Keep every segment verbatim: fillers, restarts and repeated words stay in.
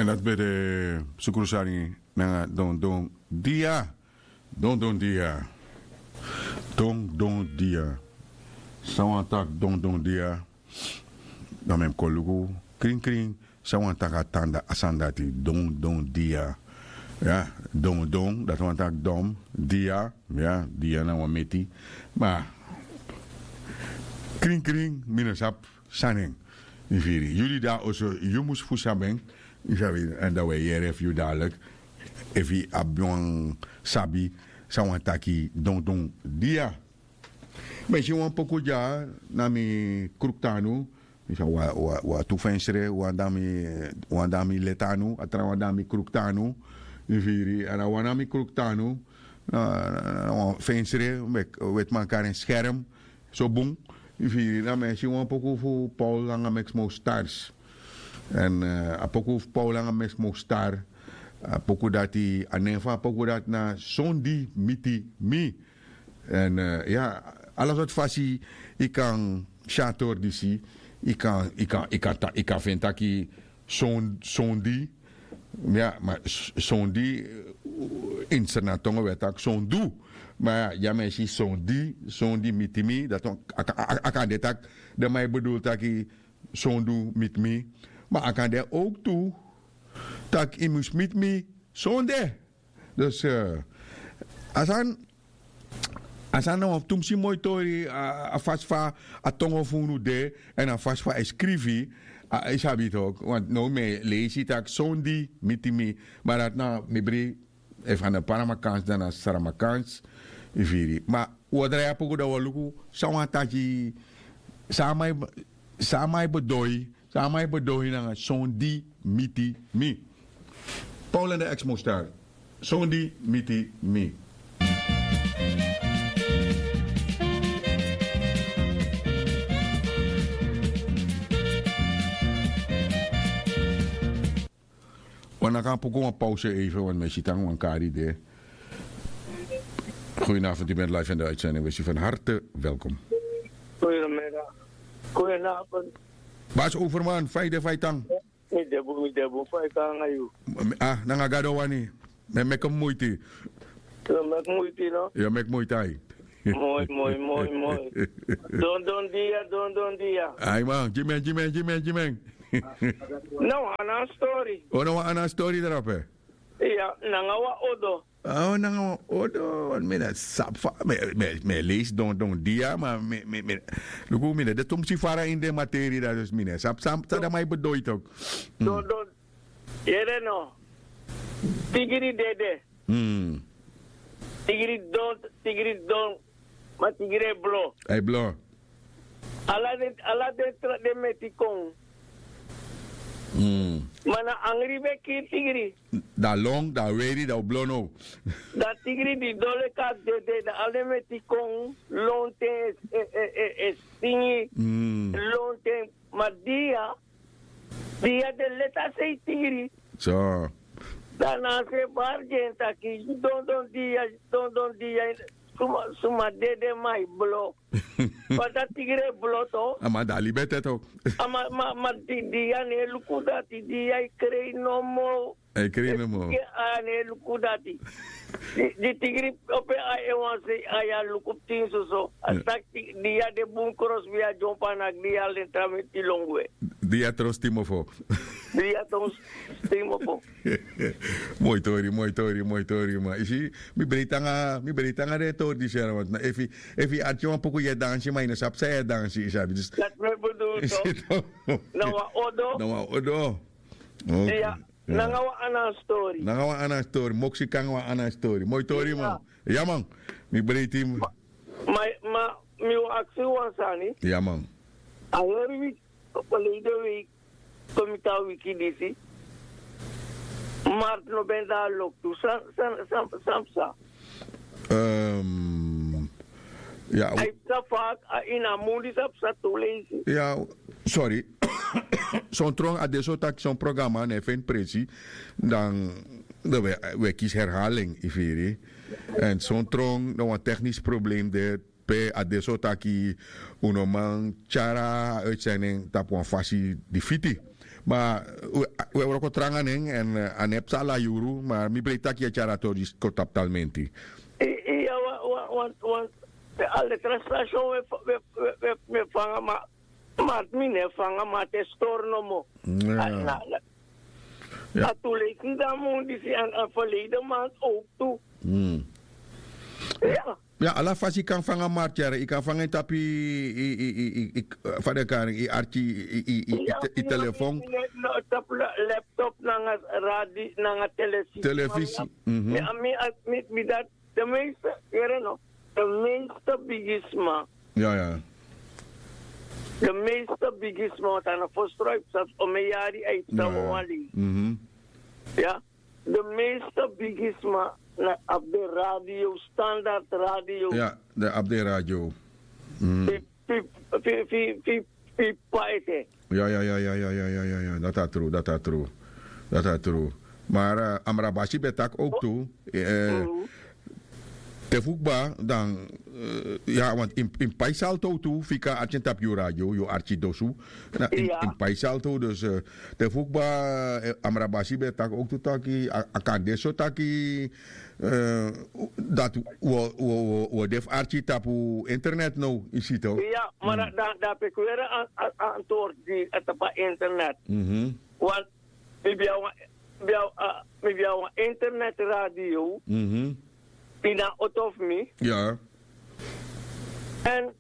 En dat ben de sukru sani nanga don don dia. Don don dia. Don don dia. San wan tak don don dia. Dan men kon luku krin krin. San wan tak a tanda a sani dati don don dia. Ya, don don dati wan tak don dia. Ya, dia na wan meti. Ma krin krin mi no sabi san nen. Yu firi yu di de na oso yu mus fu sabi en. Yu sabi èn dan wi e yere fu yu dadilik efu yu abi wan sabi san wan taki don don dia. Mi e si wan poku dya na mi kruktu anu. Wan tu fensre wan dan mi leti anu a trawan dan mi kruktu anu. Yu firi èn a wan na mi kruktu anu. Na wan fensre weti man kari en skerm. So bun. Yu firi dan mi e si wan poku fu paul nanga mexmo stars. Èn a poku fu paul nanga mexmo star. A poku dati a nen fu a poku dati na sondi miti mi. Èn ya, ala sortu fasi yu kan si a tori disi. Yu kan yu kan yu kan ta- yu kan feni taki sondi. Ya ma sondi. Ini srnatongo wi e taki sondu. Ma ya mi e si sondi sondi miti mi dati a kan de taki den man e bedul taki sondu miti mi. Ma a kan de owk tu tak' yu mus miti mi sonde. Dus a sani a sani na wan tumsi moi tori. A fasi fa a tongo fu unu de èn a fasi fa a e skrifi. Yu sabi toki want now mi e leisi tak' sondi miti mi. Ma dati na mi bri efu a na paramakans dan na saramakans. Yu firi ma un o drai a poku dan un o luku san wan taki san a man e bedoi san a man e bedoi nanga sondi miti mi. Paul en de exmo star sondi miti mi. Wan naki a puku wan pause eife wan mi e si tan wan kari de. Goedenavond u bent live in de uitzending we si van harte welkom. Goedemiddag. Goedenavond. Bas overman fa yu de fa yu tan? Mi de bun mi de bun fa yu tan nanga yu? Ah nanga gado wani. Mi e meki muiti. Yu e meki muiti no? Yu e meki muiti ai. Moi moi moi moi. Don don dia don don dia. Ai man gi mi en gi mi en gi mi en gi mi en. Na wan ana stori. O na wan ana stori drape. Iya nanga wan odo. Awo nanga wan odo wan mi na sabi fa mi e leisi don don dia ma mi mi mi luku mi na de tumsi fara ini den materi dati dus mi na sabi san san dan man e bedoi toki. Don don yere no. Tigiri dede. Tigiri don tigiri don. Ma tigiri e blo. A e blo. Ala den ala den tra den meti kon. Ma na angri ben kiri tigri. Dan long dan weri dan o blo now. Dan tigri di don leki a dede dan ala den meti kon lonten e e e singi. Lonten ma dia dia de leti a sei tigri. So. Dan na a se bari gi en taki yu dondon dia yu dondon dia. Suma suma dede ma yu blo. Fasi a tigri e blo to. A man de a libi ete to. A man man man di di ya no e luku dati di ya e krei nomo. A e krei nomo. Di ya no e luku dati. Di tigri opo en ai en wan sei ai a luku pikin soso a taki di ya de bun krosbi a dyompo a naki di ya len tra meti lon gwe. Di ya tron stimofo. Di ya tron stimofo. Moi tori moi tori moi tori ma yu si. Mi breiti nanga mi breiti nanga den tori disi yara want na efu yu arki wan puku yu e dansi ma yu no sabi san yu e dansi yu sabi dus. Dati mi e bedul so. Na wan odo. Na wan odo. Nanga wan ana stori. Nanga wan ana stori moksi kanga wan ana stori moi tori man. Ya man. Mi breiti. Ma ma mi wan aksi wan sani. Ya man. A heri wiki. Opo lei de wiki. Kon mi tan wiki disi. Martu no ben de a loktu san san san san psa? Ya. A e psa fak a ini a mun disi a psa tu leisi. Ya. Sori. Son tron a de so taki son programa no e feni presi. Dan wi e kisi herhaling yu firi. Èn son tron na wan teknisi problem de. Pe a de so taki un no man tyari a uitsending tapu wan fasi di fiti. Ma wi e wroko tranga nen èn a no e psa ala yuru, ma mi breiti tak' yu e tyari a tori disi kon tapu talmenti. Iya, wan wan wan wan, ala tra station wi e fanga ma, marti mi no e fanga marti e stori nomo. A tu leisi dan mun disi èn a ferleide mant owk tu. Ya, ala fasi yu kan fanga marti yara yu kan fanga en tapu yu, fa den kari en yu arki, yu telefon. Tapu laptop nanga radi nanga telefisi. Telefisi. Mi dati de meeste yere no, de meeste bigisma. Ya ya. De meeste bigisma want a no fostroi psa fu omen yari a yu psa wan wan lei. Ya. De meeste bigisma na abi den radio standard radio. Ya, den abi den radio. Fi fi fi fi fi papa ete. Ya ya ya ya ya ya ya ya ya dati a tru dati a tru. Dati a tru. Mara amrabasi ben taki owk tu. Te fu kba dan ya want in pai salto tu fika arki en tapu yu radio yu arki dosu. In pai salto dus te fu kba amrabasi ben taki owk tu taki a kan de so taki dati wi o de fu arki tapu internet now yu si to. Ya, ma dan a peki weri antword gi a tapu a internet. Want mi ben abi wan internet radio ini a oto fu mi. Ya. Èn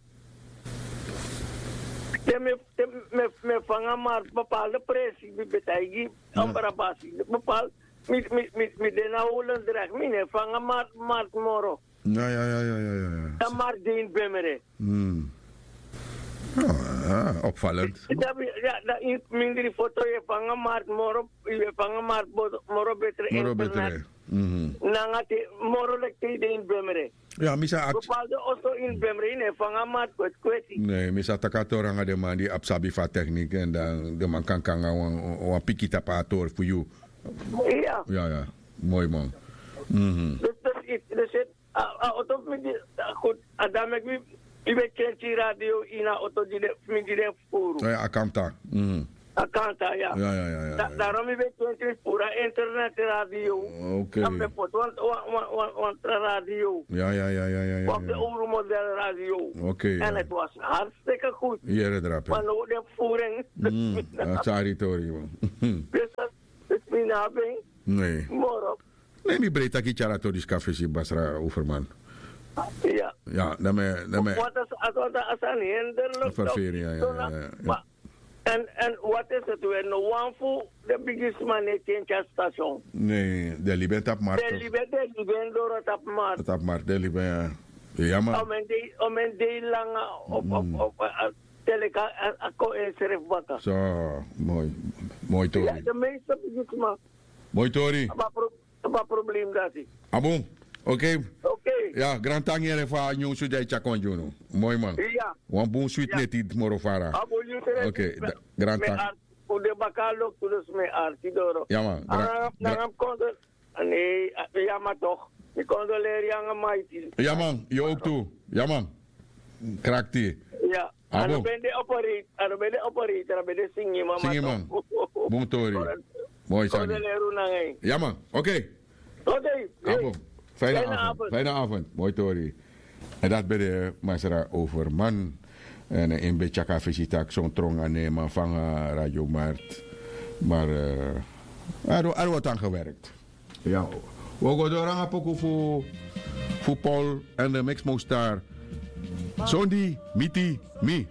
te mi e fanga marti bepaalde presi mi ben taigi ambrabasi bepaalde mi de na holendrek mi no e fanga marti moro. Ya ya ya ya ya ya. Dan marti de ini bemere. Opvalent. Dan mindri foto yu e fanga marti moro yu e fanga marti moro betre internet. Nanga te moro leki te yu de ini bemere. Ya mi sa aksi. Bepaalde oso ini bemre yu no e fanga marti kweti kweti. Ne mi sa taki a tori nanga den man di abi sabi fu a teknik èn dan den man kan kon nanga wan piki tapu a tori fu yu. Ya ya. Moi man. Dus dus iti dus iti a oto fu mi di a dame fu mi ben kenki radio ini a oto di den fu mi di den fu furu. A kamta. A kanta ya. Darom mi ben twenti fu puru a internet radio. Dan mi ben poti wan tra radio. Wan pe owru model radio. En het was hartstikke goed. Ma no den fu furu en. A sari tori man. Dus mi na ben moro. Ne mi brei taki tyari a tori disi kon na fesi basra overman. Ya. Dan mi e dan mi e. Wat is a sani hinderlik? Ferferi ya ya ya. En en wat is het weer no wan fu de bigisma no e kenki a station. Ne den libi en tapu markt. Den libi en doro tapu markt. Tapu markt den libi en ya. Ya man. Omen dei langa op op op teleka a kon en srefi baka. So moi. Moi tori. De meeste bigisma. Moi tori. Tapu a problem dati. A bun. Okei. Ya grantangi yere fu a nyunsu di a e tyari kon gi unu. Moi man. Wan bun switi neti moro fara. Okei. Grantangi. Un de baka a loktu dus mi e arki doro. Ya man. Nanga mi konso. Nei. Ya man tok. Mi konsoleri anga maiti. Ya man yu owk tu. Ya man. Krakti. Ya. A no ben de operate a no ben de operate a no ben de singi man. Singi man. Bun tori. Moi sani. Konsoleri un nanga en. Ya man. Okei. Abo. Fijne avond. Moi tori. En dat ben de masra overman. En in ben tyaka fisi taki son tronga neman fanga radio mart. Maar a ro a ro wat aan gewerkt. Ya. Wi o go doro nanga poku fu fu paul en de mixmo star. Sondi miti mi.